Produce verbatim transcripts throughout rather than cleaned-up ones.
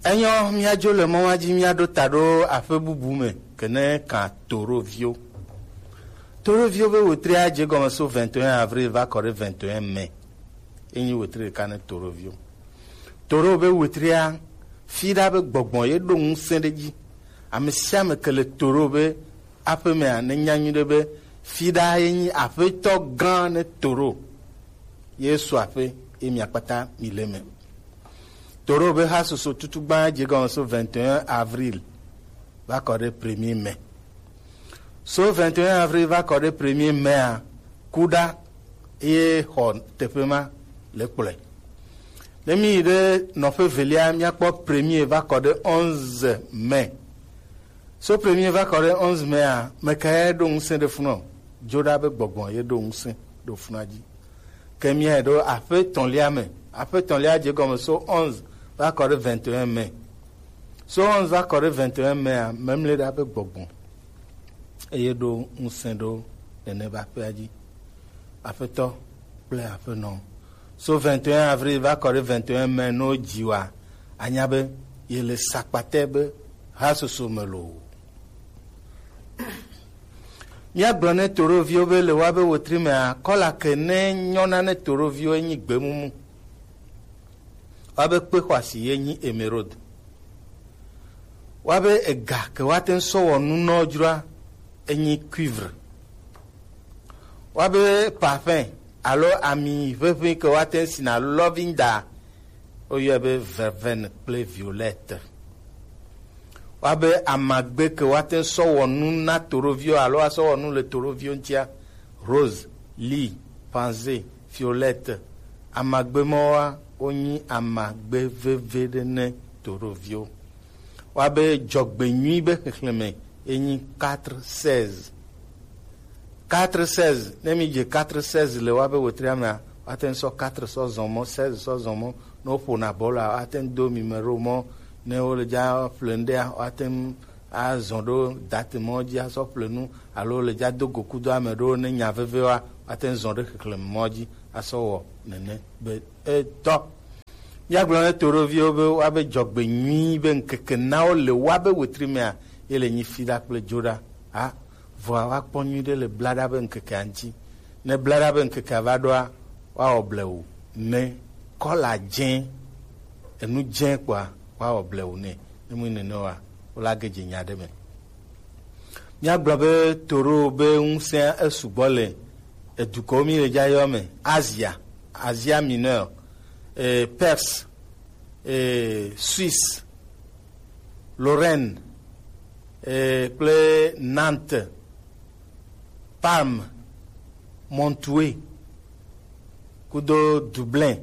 Enyo, míadzo le mɔ ma dzi, míaɖo ta ɖo aƒe bubu me, ke ne kan Toroviwo. Toroviwo be wetria dze gɔme so vingt et un avril va kɔ ɖe vingt et un mai. Enyi wetri ɖeka ne Toroviwo. Toro be wetria, fiɖa be gbɔgbɔ ye ɖo ŋusẽ ɖe dzi. Ame sia ame ke le Toro be aƒemea, ne nya nyuie ɖe be fiɖa ye nyi aƒetɔ gã ne Toro. Ye su aƒe, ye mia kpata mi le me. Toro be hasusu tutu gbã dze gɔme so vingt et un avril va kɔ ɖe premier mai. So vingt et un avril va kɔ ɖe premier mai a, kuɖa ye xɔ teƒe ma le kplɔe. Ne mi yi ɖe nɔƒe velia, míakpɔ premier va kɔ ɖe onze mai. So premier va kɔ ɖe onze mai a, mekae ɖo ŋusẽ ɖe funɔ? Dzoɖa be gbɔgbɔ ye ɖo ŋusẽ ɖo funɔ dzi. Ke míae ɖo aƒe etɔ̃lia me. Aƒe etɔ̃lia dze gɔme so onze va kɔ ɖe vingt et un mai. So onze va kɔ ɖe vingt et un mai a, memle ɖa be gbɔgbɔ eye ɖo ŋusẽ ɖo nene be aƒea dzi. Aƒetɔ kple aƒenɔ. So vingt et un avril va kɔ ɖe vingt et un mai, no dzi wa, anya be ye le sakpatɛ be hasusu me lo. Míagblɔ ne Toroviwo be le woabe wetri mea, kɔla ke ne nyɔna ne Toroviwo enyi gbemumu. Woabe kpe xɔasi ye nyi emeraude. Woabe ega ke woate ŋu sɔ wɔ nu nɔ dzroa enyi cuivre. Woabe parfum alo ami ʋeʋĩ ke woate ŋu sina alo lɔvinda, woyɔe be verveine kple violette. Woabe amagbe ke woate ŋu sɔ wɔ nu na toɖoviwo alo asɔ wɔ nu le toɖoviwo ŋutia, rose, lily, pansy, violette. Amagbe mawoa, wonyi amagbe veve ɖe ne toɖoviwo. Woabe dzɔgbenyui be xexlẽme ye nyi quatre seize. Quatre seize, ne mi dze quatre seize le woabe wetria mea, woate ŋu sɔ quatre sɔ zɔn mɔ, seize sɔ zɔn mɔ. Ne woƒona bɔla, woate ŋu do mi me ɖo mɔ. Ne wole dza ƒle nu ɖea, woate ŋu azɔn ɖo date mɔ dzi asɔ ƒle nu, alo le dza do go kudo ame ɖewo ne nya veve wa, woate ŋu zɔn ɖe xexlẽme mɔ dzi asɔ wɔ nene be etɔ. Míagblɔ ne toɖoviwo be woabe dzɔgbe nyui be ŋkeke nawo le woabe wetri mea, ye le nyi fiɖa kple dzoɖa. A, vɔa woakpɔ nyuiɖe le blaɖa be ŋkekea ŋuti. Ne blaɖa be ŋkekea va ɖoa, woawɔ blewu ne kɔla dzẽ, enu dzẽ kpɔa, woawɔ blewu nɛ. Ne mu nene oa, wola ge dze nya ɖe me. Míagblɔ be Toro be ŋusẽa esugbɔ le edukɔwo mi le dza yɔ me, Asia, Asia Mineure, eh, Perse, eh, Suisse, Lorraine, eh, kple Nantes, Parme, Montoue, kudo Dublin.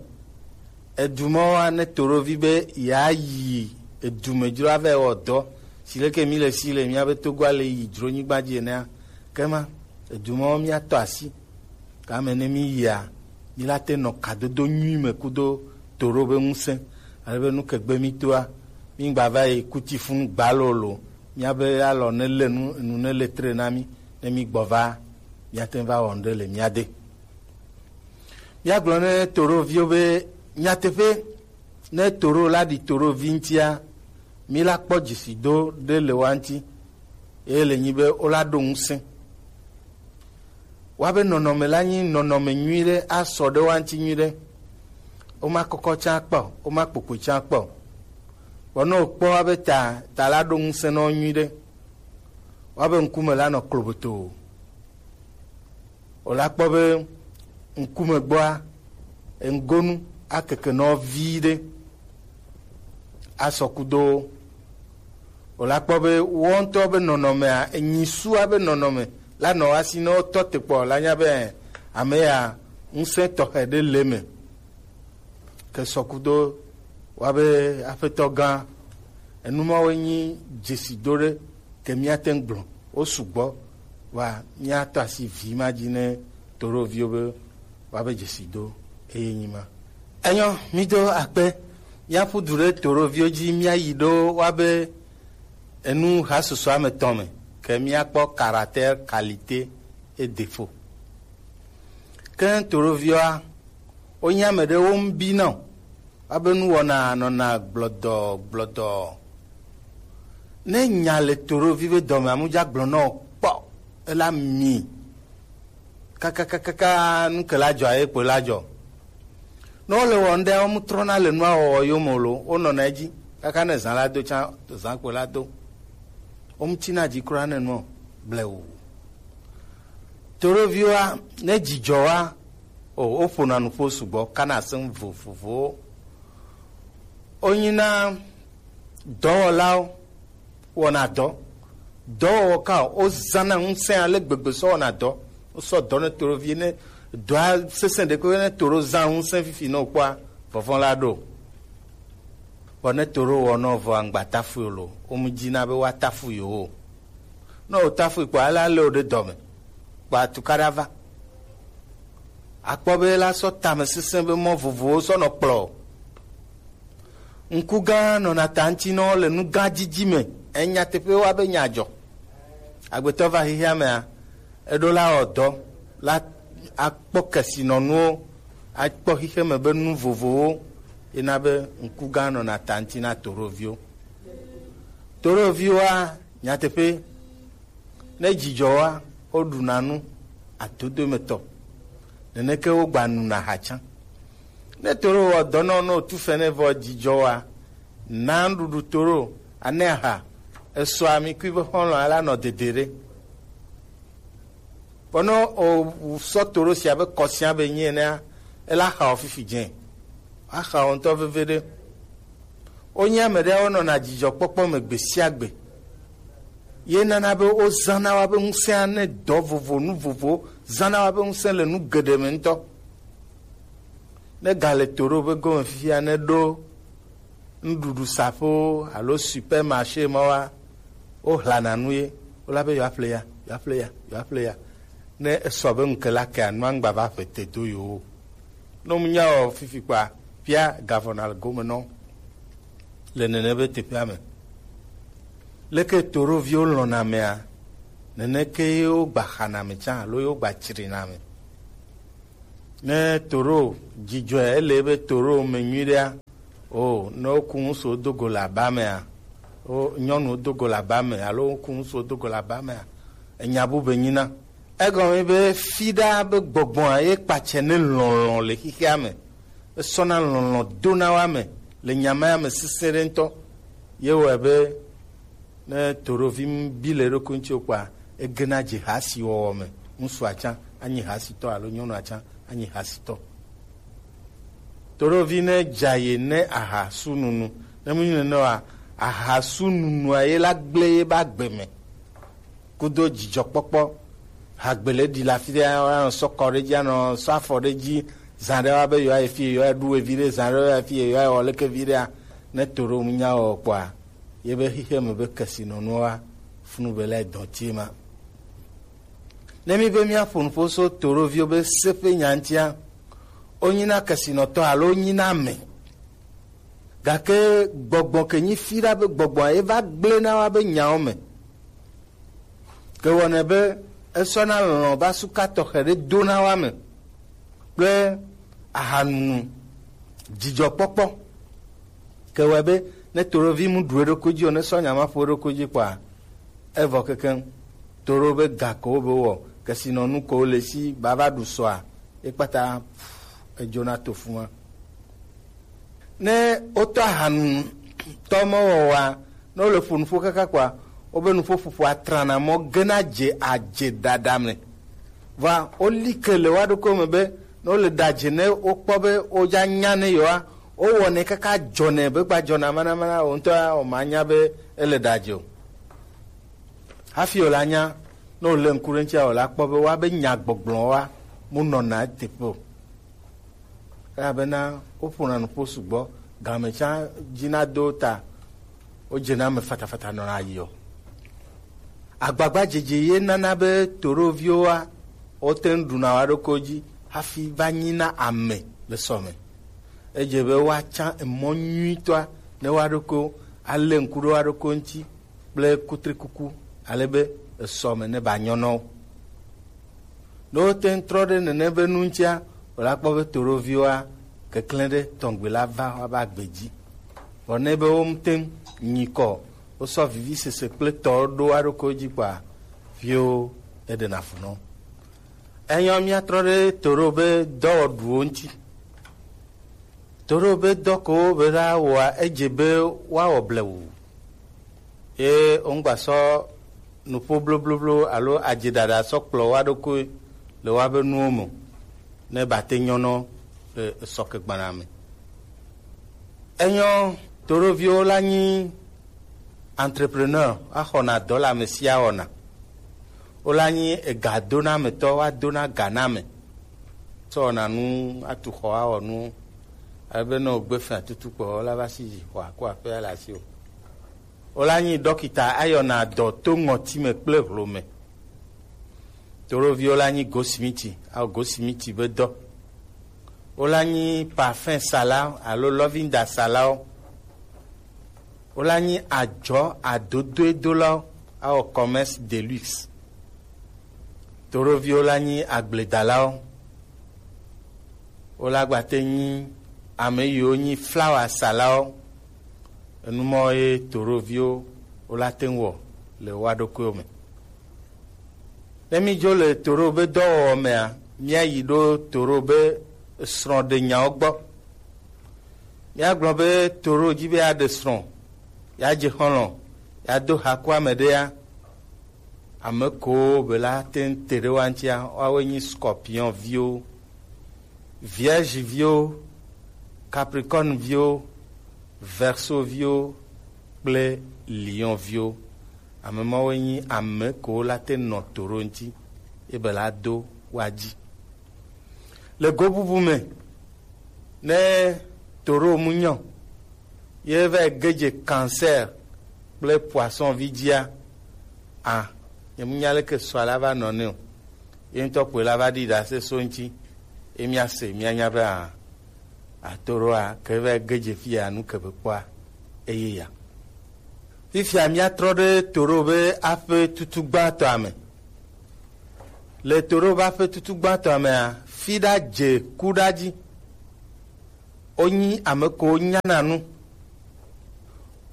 Edu mawoa, ne toɖovi be yeayi edu me dzro ava wɔ dɔ, si leke mi le si le míabe Togoa le yi dzronyigba dzi enea, kema edu mawo míatɔ asi. Kame ne mi yia, mi la te nɔ kadodo nyui me kudo toɖo be ŋusẽ. Ale be nu ke gbe mi toa, mi gba va yi kuti funu gbalolo. Míabe alɔ ne le nu, nu ne le tre na mi, ne mi gbɔ va, míate ŋu va wɔ nu ɖe le mía de. Míagblɔ ne toɖoviwo be nyateƒe, ne toɖo la ɖi toɖovi ŋutia, mi la kpɔ dzesido ɖe le wa ŋuti, eye le nyi be wola ɖo ŋusẽ. Woabe nɔnɔme la nyi nɔnɔme nyui ɖe, asɔ ɖe wa ŋuti nyui ɖe. Woma kɔkɔ tsã kpɔ, woma kpokpoi tsã kpɔ. Vɔ ne wòkpɔ woabe ta, ta la ɖo ŋusẽ nɔ nyui ɖe. Woabe ŋkume la nɔ kloboto. Wòla kpɔ be ŋkume gbɔa, eŋgonu akeke nɔ vi ɖe asɔ kudo. Wòla kpɔ be woawo ŋutɔ be nɔnɔmea, enyisua be nɔnɔme la nɔ asi ne wotɔ te kpɔ la nya be ame ya ŋusẽ tɔxɛ ɖe le me. Ke sɔ kudo woabe aƒetɔ gã, enu mawoe nyi dzesido ɖe ke míate ŋu gblɔ. Wo sugbɔ, vɔa míatɔ asi vi ma dzi ne toɖoviwo be woabe dzesido eye nyi ma. Enyɔ, mído akpe, míaƒu du ɖe toɖoviwo dzi, míayi ɖo woabe enu hasusua me tɔn me, ke míakpɔ caractère, qualité et défaut. Ke toɖoviwoa, wonye ame ɖe wo ŋbi na o. Abe nuwɔna nɔna gblɔdɔ gblɔdɔ. Ne nya le toɖovi be dɔme, amu dza gblɔ nɔ kpɔ, ela mi. Kakakakaka, nu ke la dzɔ, aye kpoe la dzɔ. Ne wole wɔ ŋɖe, wo mu trɔna le nua wɔwɔ yome o lo, wonɔna edzi. Kaka ne zã la do tsã, zã kpoe la do. Wo mu tsina dzi kura ne nua blewu. Toɖoviwoa, ne dzidzɔ wa, o, woƒona nuƒo sugbɔ, kana asem vovovowo. Wonyina dɔwɔlawo wɔna dɔ. Dɔwɔwɔ ka o, wozãna ŋusẽ ale gbegbe sɔ wɔna dɔ. Wosɔ dɔ ne toɖovi ne dɔa sesẽ ɖe ko ne toɖo zã ŋusẽ fifi ne wokpɔa, vɔvɔ̃ la ɖo. Vɔ ne toɖo wɔ nɔ vɔ aŋgba tafu lo, womu dzina be woatafu yewo o. Ne wotafui kpɔ, ale alé wo ɖe dɔ me, kpɔ atukaɖa va. Akpɔ be la sɔ tamesesẽ be mɔ vovovowo sɔ nɔ kplɔ. Ŋku gã nɔna ta ŋuti nɔ le nu gã dzidzi me. Enya teƒe wa be nya dzɔ. Agbetɔ va xexea mea, eɖo la wɔ dɔ la akpɔ kesinɔnuwo, akpɔ xexe me be nu vovovowo, ena be ŋku gã nɔna ta ŋuti na toɖoviwo. Toɖoviwoa, nyateƒe, ne dzidzɔ wa, woɖuna nu adodo me tɔ. Neneke wogba nuna aha tsã. Ne toɖo wɔ dɔ nɔ, ne wotu fɛnɛ vɔ dzidzɔ wa, na nuɖuɖu toɖo, ane aha, esɔ ami kui be xɔlɔ ala nɔ dede ɖe. Bɔ ne o sɔ toɖo sia be kɔsia be nyi enea, ela xa o fifi dzẽ. Axa o ŋutɔ veve ɖe. Wonye ame ɖe wonɔna dzidzɔkpɔkpɔ me gbe sia gbe. Ye nana be wozãna wa be ŋusẽa ne dɔ vovo, nu vovo, zãna wa be ŋusẽ le nu geɖe me ŋutɔ. Ne gale toɖo be gome fifia, ne ɖo nuɖuɖu saƒewo alo supermarché ma wa, wohlana nu ye, wola be yewoaƒle ya, yewoaƒle ya, yewoaƒle ya. Ne esɔ be ŋu ke la kea, nua ŋgba va ƒe te do yewo o. Ne womu nya o fifi kpɔa, fia gavɔna le gome nɔ le nene be teƒea me. Leke toɖoviwo lɔ̃na amea, neneke ye wogba xana ame tsã alo ye wogba tsrina ame. Ne toɖo dzidzɔe, ele be toɖo me nyuiɖea, o, ne woku ŋusu do go le aba mea, o, nyɔnu do go le aba me, alo woku ŋusu do go le aba mea, enya bube nyina. Egɔme be fiɖa be gbɔgbɔa ye kpatsɛ ne lɔlɔ̃ le xexea me. Esɔna lɔlɔ̃ dona wa me le nya ma ya me sesẽ ɖe ŋutɔ. Ye wɔe be ne toɖovi bi le eɖokui ŋuti o kpɔa, egena dze hasi wɔwɔ me. Ŋutsua tsã anyi hasitɔ alo nyɔnua tsã anyi hasitɔ. Toɖovi ne dza ye ne aha su nunu. Ne mu nyi nene wa, aha su nunua ye la gblẽ ye ba gbe me. Kudo dzidzɔkpɔkpɔ. Hagbele ɖi le afi ɖe, anɔ sɔ kɔ ɖe dzi, anɔ sɔ afɔ ɖe dzi, zã ɖe wa be yewoa yi fi, yewoa ɖu evi ɖe, zã ɖe wa yi fi, yewoa wɔ leke vi ɖea, ne to ɖo ŋu nya wɔ kpɔa, ye be xexe me be kesinɔnuwo wa funu be la dɔn tie ma. Ne mi be mia ƒo nuƒo so toɖoviwo be se ƒe nya ŋutia, wonyina kesinɔtɔ alo wonyina ame. Gake gbɔgbɔ ke nyi fi ɖa be gbɔgbɔa ye va gblẽ na wa be nyawo me. Ke wɔnɛ be esɔna lɔlɔ̃ va suka tɔxɛ ɖe dona wa me kple ahanunu, dzidzɔkpɔkpɔ. Ke wɔe be ne toɖovi mu ɖu eɖokui dzi o, ne sɔ nya ma ƒo eɖokui dzi kpɔa, evɔ kekeŋ. Toɖo be ga ko be wɔ, kesinɔnu ko le si bava ɖu sɔa, ekpata edzona to fuma. Ne wotɔ ahanutɔ mewɔwɔa, ne wole ƒo nuƒo kaka kpɔa, wobe nuƒoƒoƒoa trana mɔ gena dze adze ɖaɖa me. Vɔa woli ke le woa ɖokui me be ne wole ɖadze ne wokpɔ be wodza nya ne yewoa, wowɔnɛ kaka dzɔnɛ be gba dzɔna manamana, wo ŋutɔ ya wòmanya be ele ɖadze o. Hafi wòle anya, ne wòlé ŋku ɖe eŋutia, wòle akpɔ be woabe nya gbɔgblɔ wa mu nɔna eteƒe o. Elabena woƒona nuƒo sugbɔ, game tsã dzina do ta, wodzena eme fatafata nɔna ayi o. Agbagbadzedze ye nana be toɖoviwoa, wote ŋu ɖuna woa ɖokuiwo dzi hafi va nyina ame le sɔ me. Edze be woatsã emɔ nyuitɔa ne woa ɖokuiwo, alé ŋku ɖe woa ɖokuiwo ŋuti kple kutrikuku, ale be esɔ me ne ba nyɔ nɔ wo. Ne wote ŋu trɔ ɖe nene be nu ŋutia, wòla kpɔ be toɖoviwoa, keklẽ ɖe tɔngbe la va woabe agbe dzi. Vɔ ne be womu teŋ nyi kɔ, wosɔ vivisese kple tɔ ɖo aɖokoe dzi kpɔa, vio eɖena fu nɔ. Enyɔ míatrɔ ɖe Toro be dɔwɔɖuwo ŋuti. Toro be dɔ ko be la wɔa, edze be woawɔ blewu. Ye wongba sɔ nuƒo blobloblo alo adzeɖaɖa sɔ kplɔ woaɖokoe le woabe nuwo me o, ne bate nyɔnɔ le esɔkegbana me. Enyɔ, Toroviwo la nyi entrepreneur, axɔna dɔ le ame sia wɔna. Wola nyi egadonamɛtɔ, woadona ga na ame. Tsɔ wɔna nu, atu xɔ, awɔ nu. Ale be ne wògbe fia tutu kpɔ, wola va si yi xɔa ko aƒea le asiwò. Wola nyi ɖɔkita, ayɔna dɔ to ŋɔti me kple hlo me. Toroviwo la nyi gosimiti, awɔ gosimiti be dɔ. Wola nyi parfum salawo alo lɔvinda salawo. Wola nyi adzɔ adodoedolawo, awɔ commerce de luxe. Toroviwo la nyi agbledalawo. Wola gbate nyi ame yiwo nyi flawa salawo. Enumɔ ye Toroviwo wola te ŋu wɔ le woaɖokuiwo me. Ne mídzo le Toro be dɔwɔwɔ mea, míayi ɖo Toro be srɔ̃ɖenyawo gbɔ. Míagblɔ be Toro dzi be yeaɖe srɔ̃, yeadze xɔlɔ̃, yeado ha ku ame ɖea, ame kowo be la te ŋu te ɖe woa ŋutia, woawoe nyi Scorpion viwo, Vierge viwo, Capricorne viwo, Verseau viwo kple Lion viwo. Ame mawoe nyi ame kewo la te nɔ Toro ŋuti, ye be la do woa dzi. Le go bubu me, ne Toro mu nyɔ, ye va ge dze Cancer kple Poisson vi dzia, a, nye mu nya leke sɔ la va nɔ ne o. Ye ŋutɔ kpoe la va ɖi ɖase so ŋuti, ye míase, míanya be a, Atoroa ke va ge dze fia nu ke be kpɔa, eye ya. Fifia míatrɔ ɖe Toro be aƒe tutu gbãtɔa me. Le Toro be aƒe tutu gbãtɔa mea, Fiɖa dze ku ɖa dzi. Wonyi ame ko nyana nu.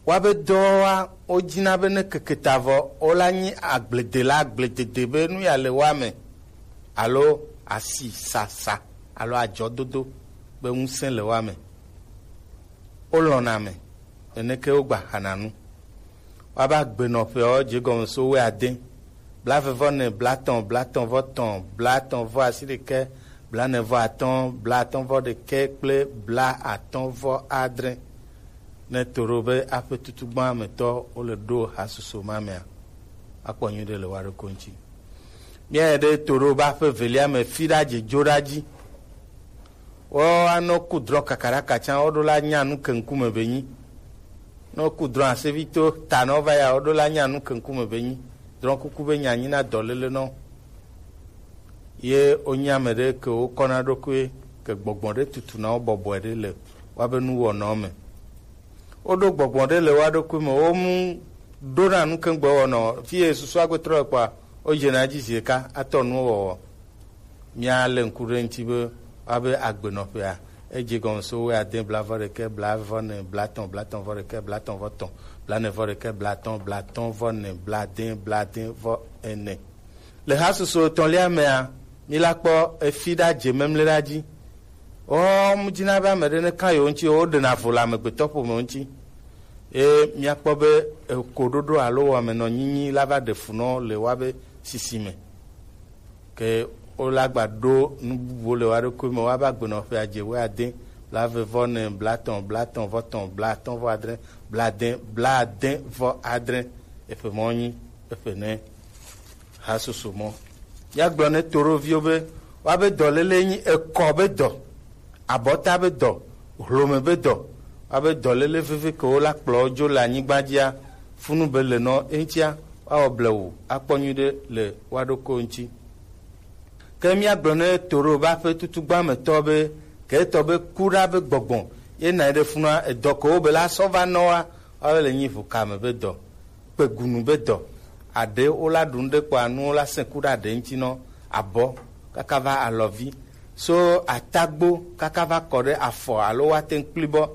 Woabe dɔwoa, wodina be ne keke ta vɔ, wola nyi agbledela, agbledede be nu ya le woa me, alo asi sasa, alo adzɔdodo be ŋusẽ le woa me. Wolɔ̃na ame, neneke wogba xana nu. Woabe agbenɔƒeawo dze egɔme so wuiade, blaeve vɔ ene, blaetɔ̃, blaetɔ̃ vɔ etɔ̃, blaetɔ̃ vɔ asiɖekɛ, blaene vɔ atɔ̃, blaatɔ̃ vɔ ɖekɛ kple blaatɔ̃ vɔ adre. Ne Toro be aƒe tutugbã me tɔ wole ɖo hasusu ma mea, akpɔ nyuiɖe le woa ɖokui ŋuti. Míayi ɖe Toro be aƒe evelia me Fiɖa dze dzo ɖa dzi. Woanɔ ku drɔ̃ kakaɖaka tsã, woɖo la nya nu ke ŋkume be nyi. Ne woku drɔ̃ asevi to ta na wo va ya, woɖo la nya nu ke ŋkume be nyi. Drɔ̃ kuku be nya nyi na dɔléle na wo. Ye wonye ame ɖe ke wokɔna ɖokui ke gbɔgbɔ ɖe tutuna wo bɔbɔe ɖe le woabe nuwɔnawo me. Woɖo gbɔgbɔ ɖe le woa ɖokui me, womu ɖona nu ke ŋgbe wɔna o. Fi ye susu agbe trɔ le kpɔa, wodzena edzi zi ɖeka atɔ nuwo wɔwɔ. Míalé ŋku ɖe eŋuti be woabe agbenɔƒea, edze gɔme so wuiade, blaeve vɔ ɖekɛ, blaeve vɔ ene, blaetɔ̃, blaetɔ̃ vɔ ɖekɛ, blaetɔ̃ vɔ etɔ̃, blaene vɔ ɖekɛ, blaatɔ̃, blaatɔ̃ vɔ ene, blaade, blaade vɔ ene. Le hasusu etɔ̃lia mea, míla kpɔ Efiɖa dze memleɖa dzi. Wo mu dina be ame ɖe ne ka yewo ŋuti, woɖena vo le amegbetɔ ƒome ŋuti. Ye míakpɔ be ekoɖoɖo alo wɔmenɔnyinyi la va ɖe fu na wo le woabe sisi me. Ke wola gba ɖo nu bubuwo le woa ɖokui me, woabe agbenɔƒea dze wuiade, blaeve vɔ ene, blaetɔ̃, blaetɔ̃ vɔ etɔ̃, blaatɔ̃ vɔ adre, blaade, blaade vɔ adre. Eƒe mɔ nyi eƒe ne. Hasusu mɔ. Míagblɔ ne Toroviwo be woabe dɔléle nyi ekɔ be dɔ, abɔta be dɔ, hlome be dɔ, woabe dɔléle veve ke wola kplɔ wo dzo le anyigba dzia, funu be le nɔ eŋutia, woawɔ blewu akpɔ nyuiɖe le woa ɖokuiwo ŋuti. Ke míagblɔ ne Toro be aƒe tutugbã me tɔ be, ke etɔ be ku ɖa be gbɔgbɔ ye na ɖe funua, edɔ ko wo be la sɔ va nɔ wa, woabe le nyi ʋukame be dɔ, kpegunu be dɔ. Aɖe wola ɖu nu ɖe kpɔa, nuwo la sẽ ku ɖe aɖe ŋuti nɔ, abɔ kaka va alɔvi, So atagbo kaka va kɔ ɖe afɔ alo woate ŋu kpli bɔ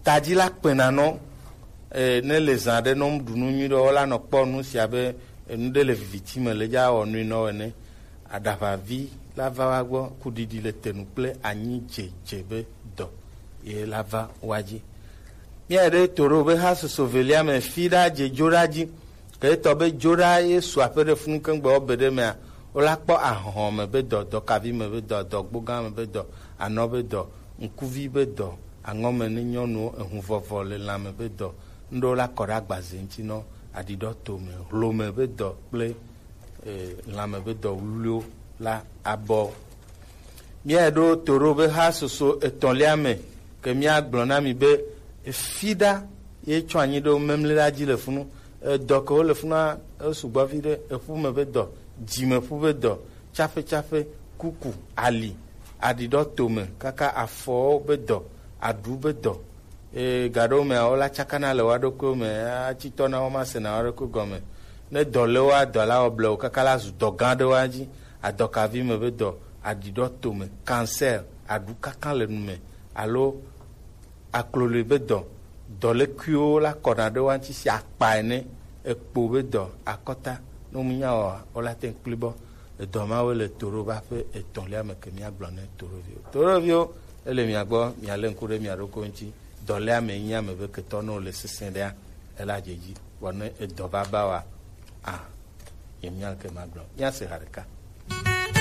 taji la kpena nɔ. E, ne le zã ɖe nɔ ɖu nu nyui ɖe, wola nɔ kpɔ nu sia be enu ɖe le viviti me le dza wɔ nui nɔ ene. Aɖaʋavi la va wa gbɔ, kuɖiɖi le tenu kple anyi dzedze be dɔ ye la va wa dzi. Mía ɖe to ɖo be ha soso velia me fi ɖa dze dzo ɖa dzi. Ke etɔ be dzo ɖa ye su aƒe ɖe funu keŋ gbe wo be ɖe mea, wola kpɔ ahɔhɔ me be dɔ, dɔkavi me be dɔ, dɔgbogã me be dɔ, anɔ be dɔ, ŋkuvi be dɔ, aŋɔme ne nyɔnuwo, ehuvɔvɔ le lã me be dɔ, ŋɖewo la kɔ ɖe agbaze ŋuti nɔ, aɖiɖɔ to me, hlo me be dɔ kple e, lãme be dɔ wluwluiwo la abɔ. Míaɖo to ɖo be ha soso etɔ̃lia me, ke míagblɔ na mi be efi ɖa ye tsɔ anyi ɖe wo memle ɖa dzi le funu. Edɔ ke wo le funua esugbɔ vi ɖe, eƒu me be dɔ, dzimeƒu be dɔ, tsaƒetsaƒe, kuku, ali, aɖiɖɔ tome kaka afɔwo be dɔ, aɖu be dɔ, Ee, gaɖewo mea, wola tsakana le woa ɖokuiwo me, atsitɔ na wo, masena woa ɖokui gɔme. Ne dɔ le woa, dɔ la wɔ blewu kaka la zu dɔ gã ɖe woa dzi. Adɔkavi me be dɔ, aɖiɖɔ tome, cancer, aɖu kakã le nu me, alo akloloe be dɔ, dɔlekuiwo la kɔna ɖe woa ŋuti si akpa ene, ekpo be dɔ, akɔta, ne mu nya wɔa, wola te ŋu kpli bɔ. Edɔ mawoe le toɖoba ƒe etɔ̃lia me ke míagblɔ ne toɖoviwo. Toɖoviwo, ele mia gbɔ, mialé ŋku ɖe mia ɖokui ŋuti. Dɔléa me nyi ame be ketɔ ne wòle sesẽ ɖea, ela dze dzi. Vɔ ne edɔ va ba wa, a, ye mía ke magblɔ. Míase ha ɖeka.